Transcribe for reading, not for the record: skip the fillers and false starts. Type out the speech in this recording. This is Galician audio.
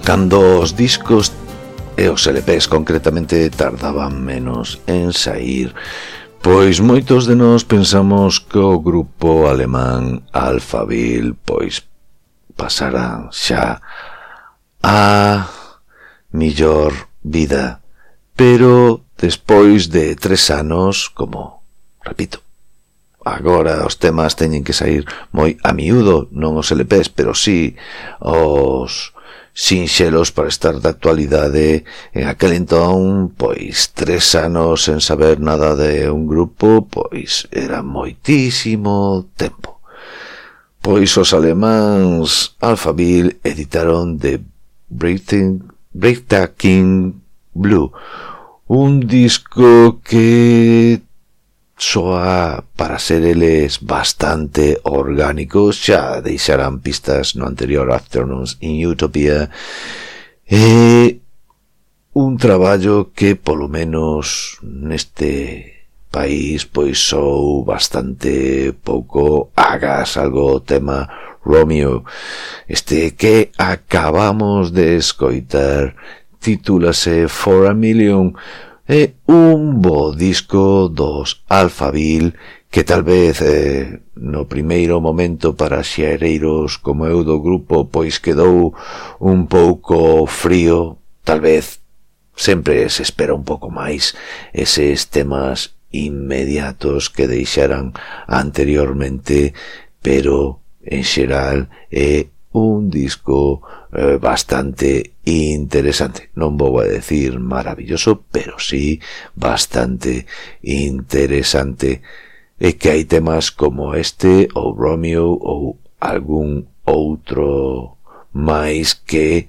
Cando os discos e os LPs concretamente tardaban menos en saír, pois moitos de nós pensamos que o grupo alemán Alphaville pois pasarán xa a millor vida, pero despois de 3 anos, como, repito, agora os temas teñen que sair moi a miúdo, non os LPs, pero sí os sinxelos para estar de actualidade. En aquel entón, pois 3 anos sen saber nada de un grupo, pois era moitísimo tempo. Pois os alemáns Alphaville editaron The Breathtaking Blue, un disco que soa para ser eles bastante orgánicos. Xa deixarán pistas no anterior Afternoons in Utopia, e un traballo que polo menos neste país pois sou bastante pouco agas algo o tema Romeo. Este que acabamos de escoitar titúlase For a Million. É un bo disco dos Alphaville que tal vez no primeiro momento para xereiros como eu do grupo pois quedou un pouco frío. Tal vez sempre se espera un pouco máis eses temas inmediatos que deixaran anteriormente, pero en xeral é un disco bastante interesante. Non vou a decir maravilloso, pero sí bastante interesante. É que hai temas como este ou Romeo ou algún outro máis que